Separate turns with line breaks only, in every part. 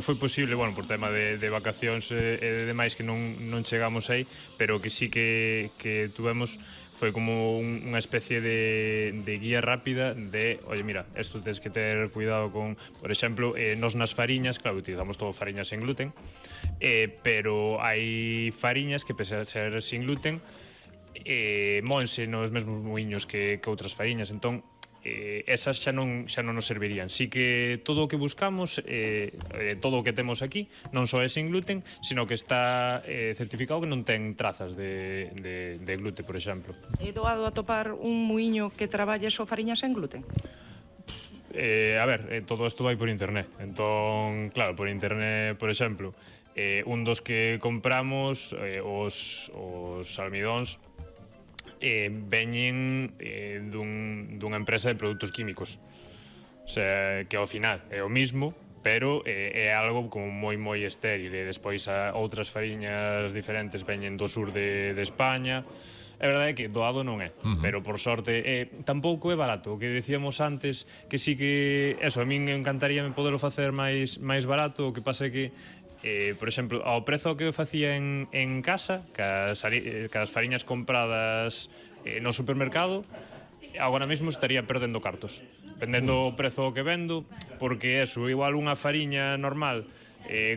Foi posible, bueno, por tema de vacacións e demais que non chegamos aí, pero que sí que tuvemos foi como unha especie de guía rápida de, oye, mira, esto tens que ter cuidado con, por exemplo, nos nas fariñas, claro, utilizamos todo fariñas sen gluten, pero hai fariñas que pese a ser sin gluten moense nos mesmos muiños que outras fariñas, entón esas xa non nos servirían. Sí que todo o que buscamos, todo o que temos aquí, non só é sin gluten, sino que está certificado que non ten trazas de gluten, por exemplo.
É doado atopar un muiño que traballe só fariñas sen gluten?
A ver, todo isto vai por internet. Entón, claro, por internet, por exemplo, un dos que compramos, os almidóns, veñen dunha empresa de produtos químicos, o sea, que ao final é o mismo, pero é algo como moi estéril, e despois outras fariñas diferentes veñen do sur de España. É verdade que doado non é, pero por sorte tampouco é barato. O que decíamos antes, que sí que eso, a min encantaría poderlo facer máis barato. O que pasa é que por exemplo, ao prezo que eu facía en casa, cas fariñas compradas no supermercado, agora mesmo estaría perdendo cartos, vendendo o prezo que vendo, porque eso, igual unha fariña normal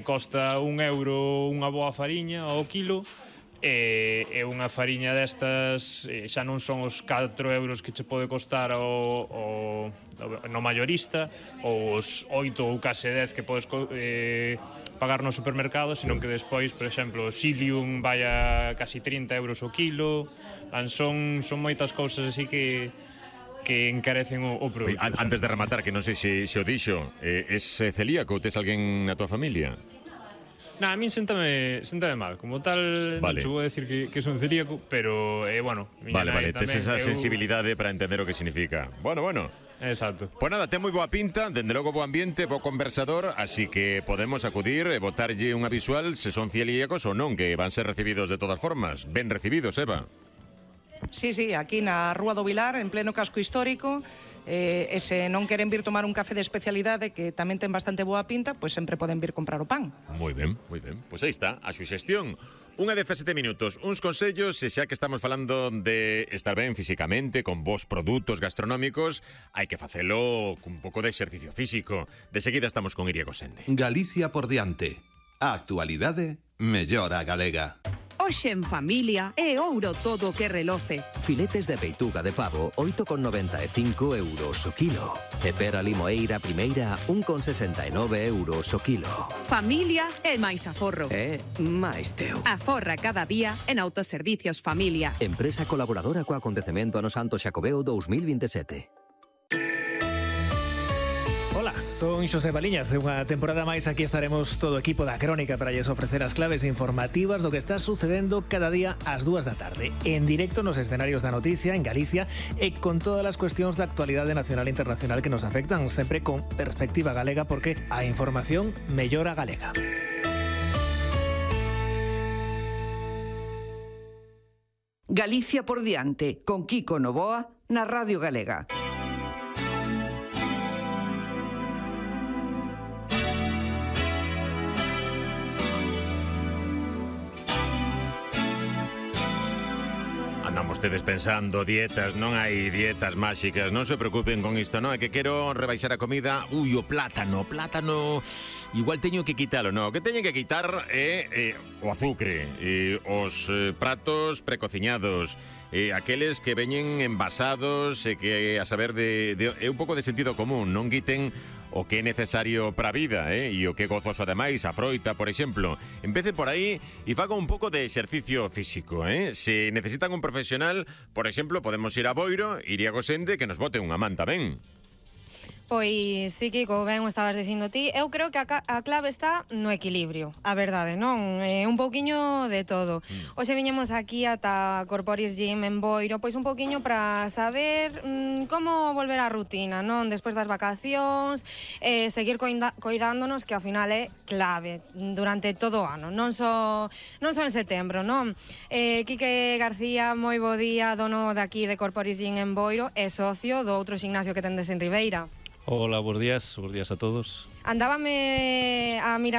costa €1 unha boa fariña ao kilo, e unha fariña destas xa non son os €4 que che pode costar no mayorista, ou os 8 ou case 10 que podes pagar no supermercado, sino que despois, por exemplo, o Xilium vai a casi €30 o kilo. Son moitas cousas así que encarecen o produto.
Antes de rematar, que non sei se o dixo, es celíaco? Tes alguén na tua familia?
A min séntame mal. Como tal, non che vou decir que son celíaco, pero, bueno...
Vale, tes esa sensibilidade para entender o que significa. Bueno.
Exacto.
Pues nada, ten moi boa pinta, dende logo bo ambiente, bo conversador, así que podemos acudir e botarlle unha visual se son celíacos ou non, que van ser recibidos de todas formas. Ben recibidos, Eva.
Sí, aquí na Rúa do Vilar, en pleno casco histórico, e se non queren vir tomar un café de especialidade que tamén ten bastante boa pinta, pois sempre poden vir comprar o pan.
Moi ben. Pois aí está, a suxestión. Unha 17 minutos, uns consellos, e xa que estamos falando de estar ben físicamente, con bons produtos gastronómicos, hai que facelo cun pouco de exercicio físico. De seguida estamos con Iria Gosende.
Galicia por diante. A actualidade mellora galega.
Hoxe en familia é ouro todo o que reloce.
Filetes de peituga de pavo, 8,95 € o kilo. E pera limoeira primeira, 1,69 € o kilo.
Familia é máis aforro.
É máis teu.
Aforra cada día en Autoservicios Familia.
Empresa colaboradora co acontecemento Ano Santo Xacobeo 2027.
Hola, son Xosé Baliñas. Unha temporada máis aquí estaremos todo o equipo da Crónica para lles ofrecer as claves informativas do que está sucedendo cada día ás 2 da tarde, en directo nos escenarios da noticia en Galicia e con todas as cuestións da actualidade nacional e internacional que nos afectan, sempre con perspectiva galega, porque a información mellora galega.
Galicia por diante, con Kiko Novoa na Radio Galega.
Andamos tedes pensando dietas, non hai dietas máxicas, non se preocupen con isto, non? É que quero rebaixar a comida, o plátano, igual teño que quitalo, non? O que teñen que quitar é o azucre, os pratos precociñados, aqueles que veñen envasados e que, a saber, é un pouco de sentido común, non quiten o que é necesario para a vida, e o que é gozoso ademais, a froita, por exemplo. Empece por aí e faga un pouco de exercicio físico, Se necesitan un profesional, por exemplo, podemos ir a Boiro, Iria Gosende, que nos bote unha man tamén.
Pois sí, Kiko, ben o estabas dicindo ti. Eu creo que a clave está no equilibrio, a verdade, non? Un pouquiño de todo. Hoxe viñemos aquí ata Corporis Gym en Boiro, pois un pouquiño para saber como volver á rutina, non? Despois das vacacións, seguir coidándonos, que ao final é clave durante todo o ano, non só en setembro, non? Quique García, moi bo día, dono de aquí de Corporis Gym en Boiro, e socio do outro gimnasio que tendes en Ribeira.
Hola, buenos días a todos.
Andábame a mirar